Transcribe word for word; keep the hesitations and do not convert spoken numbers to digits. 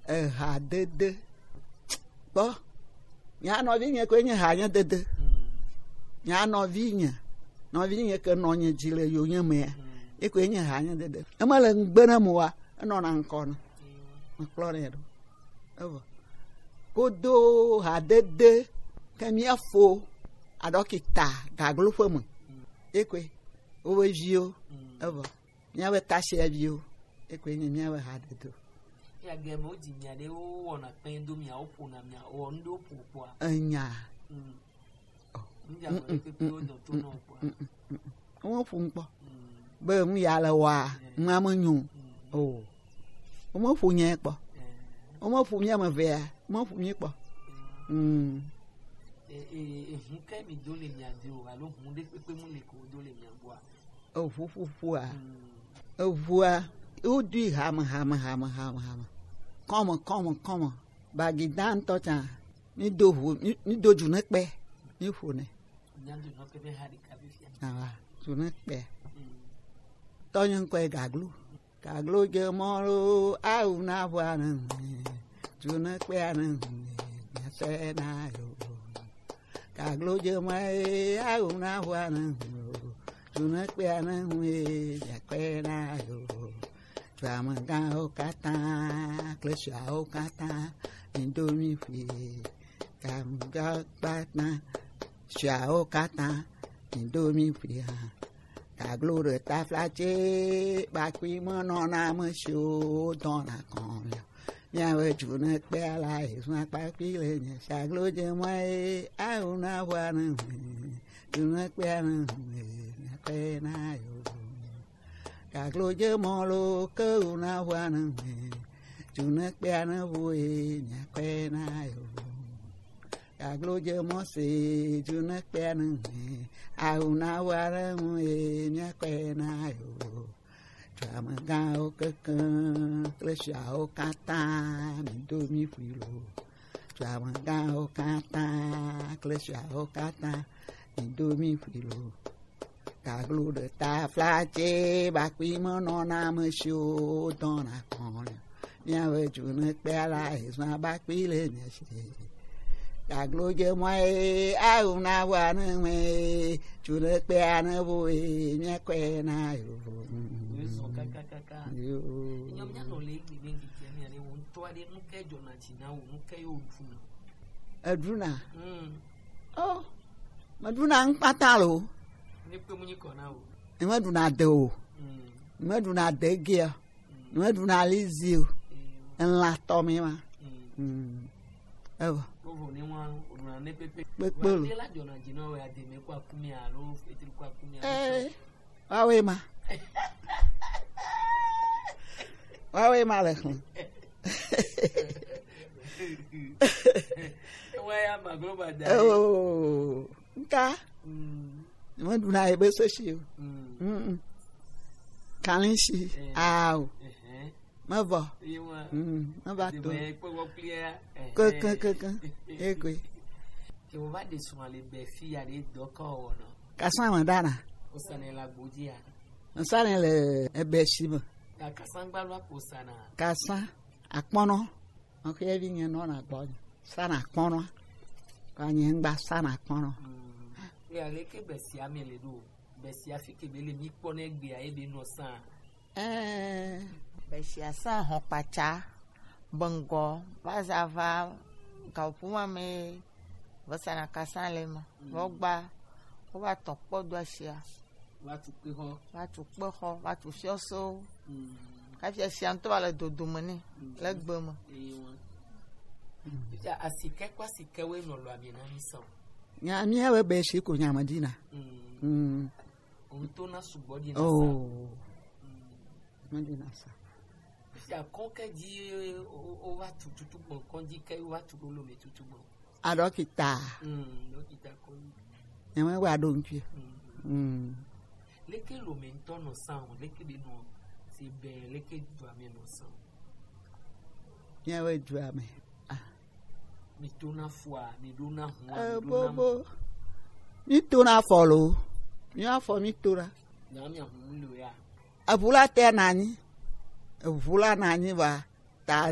Eha dede. Kpɔ. Mia nɔvi nye koe nye ha nye dede. Mia nɔvi nye. Nɔvi nye ke nɔ nye dzi le yo nye mea. Ye koe nye ha nye dede. Ema le ŋgbe na mo wa. Enɔ na ŋkɔ na. Mekplɔ nɛ ɖo. Evo. Kodo ha dede ke mia fo aɖɔkita gaglo ƒe me. Ye koe. Wobe viwo. Evo. Míaƒe tasiaviwo, ekoe nye míaƒe hadodo. Ya ge me wodzi mia ɖe wowɔna kpẽ do mia, woƒona mia, wɔ nu ɖewo ƒo kpɔa? Enya. Mm. Oh. Nu dza me ɖe pɛpɛ wodɔ to nɔ kpɔa? Wome ƒo nu kpɔ. Mm. Be nu ya le wɔa, nua menyo. Mm. Oh. Wome ƒo nye kpɔ. Eh. Wome ƒo mía me evea, wome ƒo mí kpɔ. Mm. Mm. E, e, ehu ke mi do le mia do alo hu ɖe kpekpe mu le ko do le mia gbɔa? Eʋuƒoƒoa, eʋua, wodui hame, hame, hame, hame, hame. Kɔme, kɔme, kɔme. Bagida ŋutɔ tsã, mído ʋu, mí-, mído dzonekpe, míƒonɛ. Awa, dzonekpea. Tɔnye ŋkɔe Gaglo. Kaglo je mɔ lo, awu na ʋua ne ŋu, dzonekpea ne ŋu, miasɔe na yo. Kaglo je mɔ e, awu na ʋua ne ŋu, dzonekpea ne ŋu e, miakɔe na yo. Duamegãwo katã kple suawo katã, mido mi ƒui. Kamgakpata, suawo katã, mido mi ƒui hã. Kaglo ɖe taflatse, kpakui menɔna ame siwo dɔna kɔn le. Miabe dzonekpea la, ezɔn kpakui le nye saglo dze mɔ ye, awu na ʋua ne ŋu. Dzonekpea ne ŋu, miakɔe na yo. Kaglo dze mɔ lo, ke wu na ʋua ne ŋu. Dzonekpea ne ʋu ye, miakɔe na yo. Kaglo je mɔ se, dzonekpea ne ŋue, awu na wa ɖe ŋu ye, miakɔe na yo. Duamegãwo kekeŋ kple suawo katã, mido mi ƒui lo. Duamegãwo katã kple suawo katã, mido mi ƒui lo. Kaglo ɖe taflatse, bakui menɔna ame siwo dɔna kɔn le. Miabe dzonekpea la, ezɔn bakui le mia si. Kaglo je mɔ ye, awu na wa ne ŋue, dzonekpea ne vo ye, miakɔe na yo. Ezɔn kakakaka. Yo. Nyɔm nya nɔ le egbe me didi mia ne wo ŋutɔ aɖe nu ke dzɔna dzi na wo, nu ke yo ɖuna. Eɖuna? Mm. Oh, meɖuna nu kpata lo. Ne kpe mu nyi kɔ na wo. Nyemeɖuna de o. Mm. Nyemeɖuna dege o. Mm. Nyemeɖuna alizi o. Mm. Elã tɔ mi ma. Mm. Mm. Evo. Wovo ne wa, woɖuna ne pepe. Kpekpe lo. Wa de la dzɔna dzi na wo ya de me kwa kumi alo fetri kwa kumi alo. Eh. Wawe ma. Wawe ma le xlẽ. Wa ya ma glo ba da. Oh, nka. Mm. Mo du na ebe so shi o. Mm. Mm. Kalin shi. Eh. Awo. Eh, eh. Mevɔ. Ye wa. Mm, meva to. Ke, ke, ke, ke. Ekwe. Ke wo va de suma le be fi ya de dɔ kɔ wɔ nɔ. Kasa me dana. O sane la gbodzi ya. Nsane le ebe shi me. Ka kasa gba lo ko sana. Kasa akpɔnɔ. Ɔke vi nye nɔ na gbɔ. Sana akpɔnɔ. Ka nye ngba sana akpɔnɔ. Mm. Ya le ke be sia me le do. Be sia fi ke be le mi kpɔ ne gbe ya e be nɔ sa. Ɛɛ, be sia sa hɔn kpatsa, bengɔ, va za va, gaƒuma me, vɔsana kasa le ma, vɔ gba, wo va tɔ kpɔ do asia. Va tu kpe xɔ. Va tu kpe xɔ, va tu fiɔso. Mm. Kafi asia ŋutɔ va le dodo me nɛ, le gbe me. Eye wa. Fifia, asike kɔ asike woe nɔ lɔ ami na mi sa o. Nya, mi ya be be shi ko nya ma dina. Mm. Mm. Òun tó ná ṣùgbọ́n di nasa. Oh. Mm. Wọ́n di nasa. Fifia kɔn ke dzi o, o, o va tu tutu gbɔn kɔn dzi ke o va tu ɖo lome tutu gbɔn. A dɔkita. Mm, dɔkita kɔn. Nyɛ mɛ wa ɖo ŋutsu. Mm. Mm. Leke lome ŋutɔ nɔ san o, leke be nɔ se be leke dua me nɔ san o. Míaƒe dua me. Ah. Mi tona fua, mi ɖona hua, eh, mi ɖona bobo. Mi tona afɔ lo. Mi afɔ mi tona. Na mi ahun lo ya. Eʋu la te na anyi. Eʋu la na anyi va. Ta